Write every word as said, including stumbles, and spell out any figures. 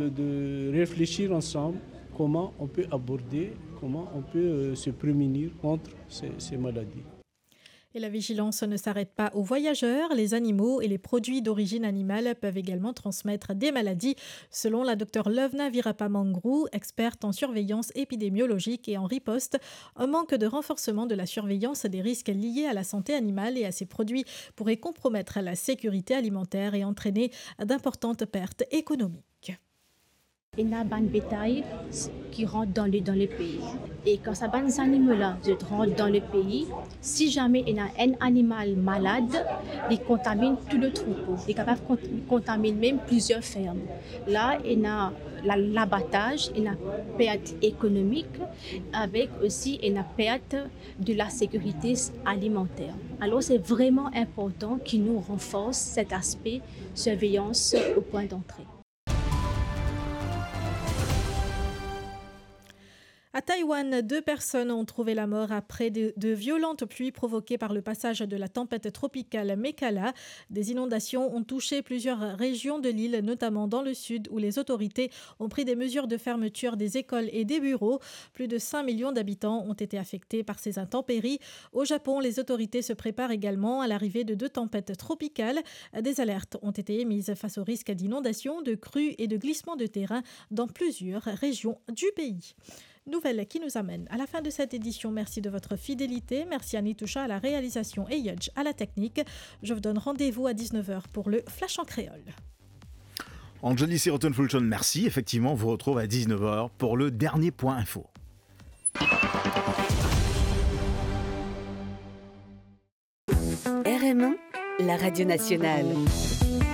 De réfléchir ensemble comment on peut aborder, comment on peut, euh, se prémunir contre ces, ces maladies. Et la vigilance ne s'arrête pas aux voyageurs. Les animaux et les produits d'origine animale peuvent également transmettre des maladies. Selon la docteur Lovena Virapamangru, experte en surveillance épidémiologique et en riposte, un manque de renforcement de la surveillance des risques liés à la santé animale et à ces produits pourrait compromettre la sécurité alimentaire et entraîner d'importantes pertes économiques. Ena bann betay ki rant dan le, dan le pei. E kan sa bann zanimo la, zot rant dan le pei, si zame ena enn animal malad, li kontaminn tou le troupo. Li kapav kont-, kontaminn mem plizier ferm. La, ena la, labataz, ena pert ekonomik, avek osi ena pert de la sécurité alimentaire. Alors, c'est vraiment important ki nou ranfors set aspe surveillance au point d'entrée. À Taïwan, deux personnes ont trouvé la mort après de, de violentes pluies provoquées par le passage de la tempête tropicale Mekala. Des inondations ont touché plusieurs régions de l'île, notamment dans le sud, où les autorités ont pris des mesures de fermeture des écoles et des bureaux. Plus de cinq millions d'habitants ont été affectés par ces intempéries. Au Japon, les autorités se préparent également à l'arrivée de deux tempêtes tropicales. Des alertes ont été émises face au risque d'inondation, de crues et de glissements de terrain dans plusieurs régions du pays. Nouvelle qui nous amène à la fin de cette édition. Merci de votre fidélité. Merci à Nitoucha à la réalisation et Yudge à la technique. Je vous donne rendez-vous à dix-neuf heures pour le Flash en créole. Anjali Sirotun-Fulton, merci. Effectivement, on vous retrouve à dix-neuf heures pour le dernier point info. R M un, la radio nationale.